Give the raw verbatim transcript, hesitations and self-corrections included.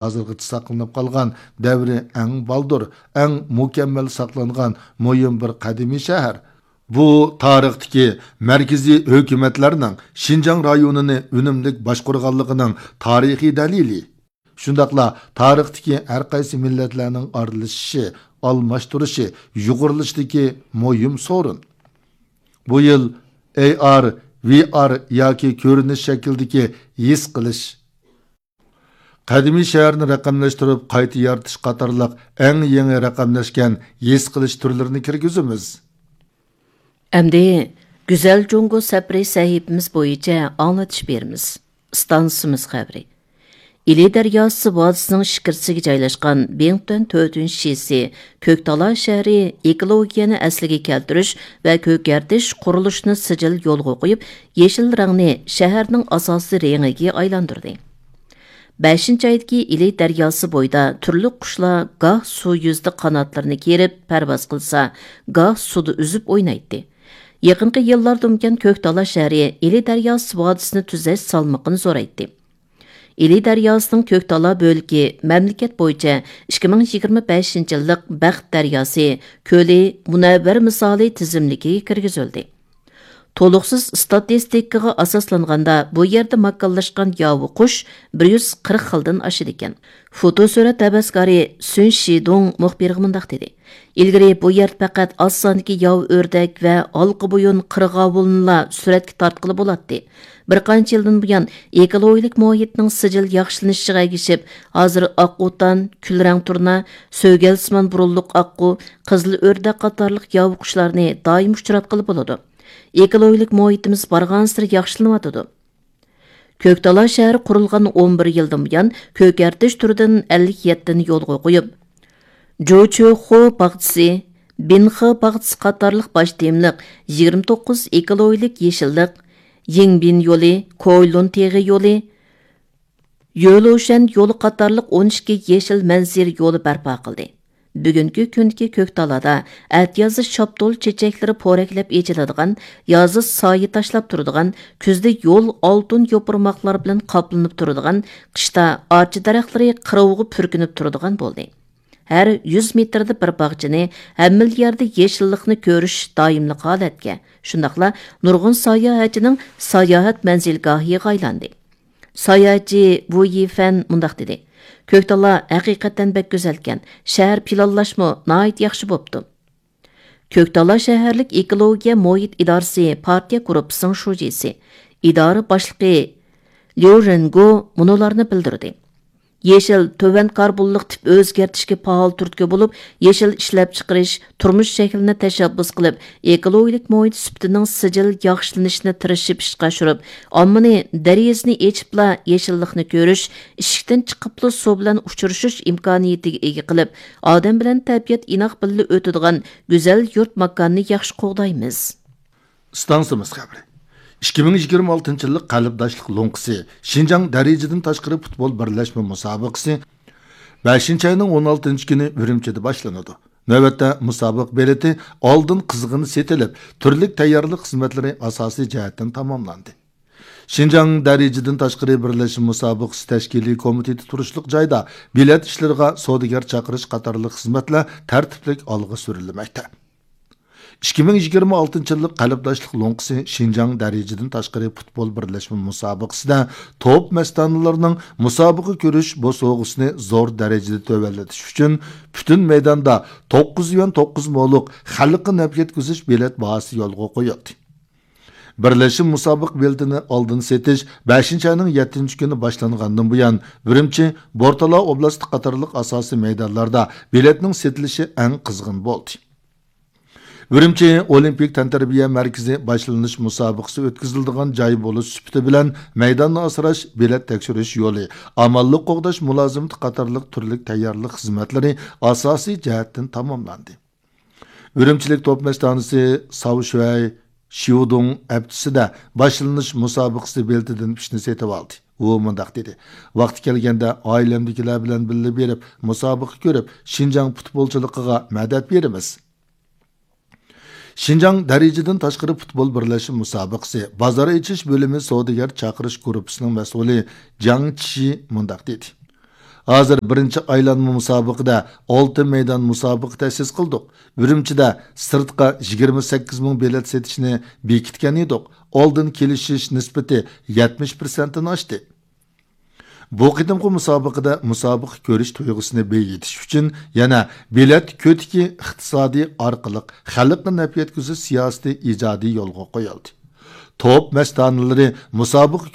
ھازىرغىچە ساقلىنىپ قالغان دەۋرى ئەڭ بالدۇر، ئەڭ مۇكەممەل ساقلانغان مۇھىم بىر قەدىمىي شەھەر. بۇ تارىختىكى مەركىزىي ھۆكۈمەتلەرنىڭ شىنجاڭ رايونىنى ئۈنۈملۈك باشقۇرغانلىقىنىڭ تارىخىي دەلىلى. شۇنداقلا تارىختىكى ھەر قايسى مىللەتلەرنىڭ ئارىلىشىشى، ئالماشتۇرۇشى، يۇغۇرۇلۇشىدىكى مۇھىم سورۇن. بۇ يىل ئەي ئار، ۋى ئار ياكى كۆرۈنۈش شەكلىدىكى ھېس قىلىش، قەدىمىي شەھەرنى رەقەملەشتۈرۈپ قايتا يارىتىش قاتارلىق ئەڭ يېڭى رەقەملەشكەن ھېس قىلىش تۈرلىرىنى كىرگۈزىمىز. ئەمدى گۈزەل جۇڭگو سەپىرى سەھىپىمىز بويىچە ئاڭلىتىش بېرىمىز. ئىستانسىمىز خەۋىرى. ئىلى دەرياسى ۋادىسىنىڭ ئىچكىرىسىگە جايلاشقان بىڭتۈەن تۆتىنچى شىسى كۆكتالا شەھىرى ئېكولوگىيەنى ئەسلىگە كەلتۈرۈش ۋە كۆكەرتىش قۇرۇلۇشىنى سىجىل يولغا قويۇپ، يېشىل رەڭنى شەھەرنىڭ ئاساسىي رېڭىگە ئايلاندۇردى. بەشىنچى ئايدىكى ئىلى دەرياسى بويىدا تۈرلۈك قۇشلار گاھ سۇ يۈزىدە قاناتلىرىنى كېرىپ پەرۋاز قىلسا، گاھ سۇدا ئۈزۈپ ئوينايتتى. يېقىنقى يىللاردىن بۇيان كۆكتالا شەھىرى ئىلى دەرياسى ۋادىسىنى تۈزەش سالمىقىنى زورايتتى. ئىلى دەرياسىنىڭ كۆكتالا بۆلىكى مەملىكەت بويىچە ئىككى مىڭ يىگىرمە بەشىنچى يىللىق بەخت دەرياسى كۆلى مۇنەۋۋەر مىسالى تىزىملىكىگە كىرگۈزۈلدى. تولۇقسىز ئىستاتىستىكىغا ئاساسلانغاندا، بۇ يەردە ماكانلاشقان ياۋا قۇش بىر يۈز قىرىق خىلدىن ئاشىدىكەن. فوتو سۈرەت ھەۋەسكارى سۈن شىدۇڭ مۇخبىرغا مۇنداق دېدى: «ئىلگىرى بۇ يەردە پەقەت ئاز ساندىكى ياۋا ئۆردەك ۋە ھالقا بويۇن قىرغاۋۇلنىلا سۈرەتكە تارتقىلى بولاتتى. بىر قانچە يىلدىن بۇيان ئېكولوگىيەلىك مۇھىتنىڭ سىجىل ياخشىلىنىشىغا ئەگىشىپ، ھازىر ئاق ئوتان، كۈل رەڭ تۇرنا، سۆگەلسىمان بۇرۇنلۇق ئاققۇ، قىزىل ئۆردەك قاتارلىق ياۋا قۇشلارنى دائىم ئۇچراتقىلى بولىدۇ. ئېكولوگىيەلىك مۇھىتىمىز بارغانسېرى ياخشىلىنىۋاتىدۇ.» كۆكتالا شەھىرى قۇرۇلغان ئون بىر يىلدىن بۇيان كۆكەرتىش تۈرىدىن ئەللىك يەتتىنى يولغا قويۇپ، جۇچۆخۇ باغچىسى، بىنخې باغچىسى قاتارلىق باش تېمىلىق يىگىرمە توققۇز ئېكولوگىيەلىك يېشىللىق، يىڭبىن يولى، كويلۇن تېغى يولى، يۆلۇشەن يولى قاتارلىق ئون ئىككى يېشىل مەنزىرە يولى بەرپا قىلدى. بۈگۈنكى كۈندىكى كۆكتالادا ئەتىيازدا شاپتۇل چېچەكلىرى پورەكلەپ ئېچىلىدىغان، يازدا سايە تاشلاپ تۇرىدىغان، كۈزدە يول ئالتۇن يوپۇرماقلار بىلەن قاپلىنىپ تۇرىدىغان، قىشتا ئارچا دەرەخلىرى قىروغا پۈركىنىپ تۇرىدىغان بولدى. ھەر يۈز مېتىردە بىر باغچىنى، ھەممىلا يەردە يېشىللىقنى كۆرۈش دائىملىق ھالەتكە، شۇنداقلا نۇرغۇن ساياھەتچىنىڭ ساياھەت مەنزىلگاھىغا ئايلاندى. ساياھەتچى ۋۇ يىفەن مۇنداق دېدى: «كۆكتالا ھەقىقەتەن بەك گۈزەلكەن، شەھەر پىلانلاشمۇ ناھايىتى ياخشى بوپتۇ.» كۆكتالا شەھەرلىك ئېكولوگىيە مۇھىت ئىدارىسى پارتىيە گۇرۇپپىسىنىڭ شۇجىسى، ئىدارە باشلىقى ليۇ رېنگو مۇنۇلارنى بىلدۈردى: «يېشىل تۆۋەن كاربونلۇق تىپ ئۆزگەرتىشكە پائال تۈرتكە بولۇپ، يېشىل ئىشلەپچىقىرىش، تۇرمۇش شەكلىنى تەشەببۇس قىلىپ، ئېكولوگىيەلىك مۇھىت سۈپىتىنىڭ سىجىل ياخشىلىنىشىنى تىرىشىپ ئىشقا ئاشۇرۇپ، ئاممىنى دېرىزىنى ئېچىپلا يېشىللىقنى كۆرۈش، ئىشىكتىن چىقىپلا سۇ بىلەن ئۇچرىشىش ئىمكانىيىتىگە ئىگە قىلىپ، ئادەم بىلەن تەبىئەت ئىناق بىللە ئۆتىدىغان گۈزەل يۇرت ماكاننى ياخشى قوغدايمىز.» ئىستانسىمىز خەۋىرى. ئىككى مىڭ يىگىرمە ئالتىنچى يىللىق قەلبداشلىق لوڭقىسى شىنجاڭ دەرىجىدىن تاشقىرى پۇتبول بىرلەشمە مۇسابىقىسى بەشىنچى ئاينىڭ ئون ئالتىنچى كۈنى ئۈرۈمچىدە باشلىنىدۇ. نۆۋەتتە مۇسابىقە بېلىتى ئالدىن قىزغىن سېتىلىپ، تۈرلۈك تەييارلىق خىزمەتلىرى ئاساسىي جەھەتتىن تاماملاندى. شىنجاڭ دەرىجىدىن تاشقىرى بىرلەشمە مۇسابىقىسى تەشكىلىي كومىتېتى تۇرۇشلۇق جايدا بېلەت ئىشلىرىغا سودىگەر چاقىرىش قاتارلىق خىزمەتلەر تەرتىپلىك ئالغا سۈرۈلمەكتە. ئىككى مىڭ يىگىرمە ئالتىنچى يىللىق قەلبداشلىق لوڭقىسى شىنجاڭ دەرىجىدىن تاشقىرى پۇتبول بىرلەشمە مۇسابىقىسىدە توپ مەستانىلىرىنىڭ مۇسابىقە كۆرۈش بوسۇغىسىنى زور دەرىجىدە تۆۋەنلىتىش ئۈچۈن پۈتۈن مەيداندا توققۇز يۈەن توققۇز مولۇق خەلققە نەپ يەتكۈزۈش بېلەت باھاسى يولغا قويۇلدى. بىرلەشمە مۇسابىقە بېلىتىنى ئالدىن سېتىش بەشىنچى ئاينىڭ يەتتىنچى كۈنى باشلانغاندىن بۇيان، ئۈرۈمچى، بورتالا ئوبلاستى قاتارلىق ئاساسىي مەيدانلاردا بېلەتنىڭ سېتىلىشى ئەڭ قىزغىن بولدى. ئۈرۈمچى ئولىمپىك تەنتەربىيە مەركىزى باشلىنىش مۇسابىقىسى ئۆتكۈزۈلىدىغان جاي بولۇش سۈپىتى بىلەن مەيداننى ئاسراش، بېلەت تەكشۈرۈش يولى، ئامانلىق قوغداش مۇلازىمىتى قاتارلىق تۈرلۈك تەييارلىق خىزمەتلىرى ئاساسىي جەھەتتىن تاماملاندى. ئۈرۈمچىلىك توپ مەستانىسى ساۋ شۈەي شيۇدۇڭ ھەپتىسىدە باشلىنىش مۇسابىقىسى بېلىتىدىن ئۈچنى سېتىۋالدى. ئۇ مۇنداق دېدى: «ۋاقتى كەلگەندە ئائىلەمدىكىلەر بىلەن بىللە بېرىپ، مۇسابىقە كۆرۈپ، شىنجاڭ پۇتبولچىلىقىغا مەدەت بېرىمىز.» شىنجاڭ دەرىجىدىن تاشقىرى پۇتبول بىرلەشمە مۇسابىقىسى بازار ئېچىش بۆلۈمى سودىگەر چاقىرىش گۇرۇپپىسىنىڭ مەسئۇلى جاڭ چىشى مۇنداق دېدى: ھازىر بىرىنچى ئايلانما مۇسابىقىدە ئالتە مەيدان مۇسابىقە تەسىس قىلدۇق. ئۈرۈمچىدە سىرتقا يىگىرمە سەككىز مىڭ بېلەت سېتىشنى بېكىتكەن ئىدۇق. ئالدىن كېلىشىش نىسبىتى يەتمىش پىرسەنتتىن ئاشتى. بۇ قېتىمقى مۇسابىقىدە مۇسابىقە كۆرۈش تۇيغۇسىنى بېيىتىش ئۈچۈن يەنە بېلەت كۆتىكى ئىقتىسادىي ئارقىلىق خەلققە نەپ يەتكۈزۈش سىياسىتى ئىجادىي يولغا قويۇلدى. توپ مەستانىلىرى مۇسابىقە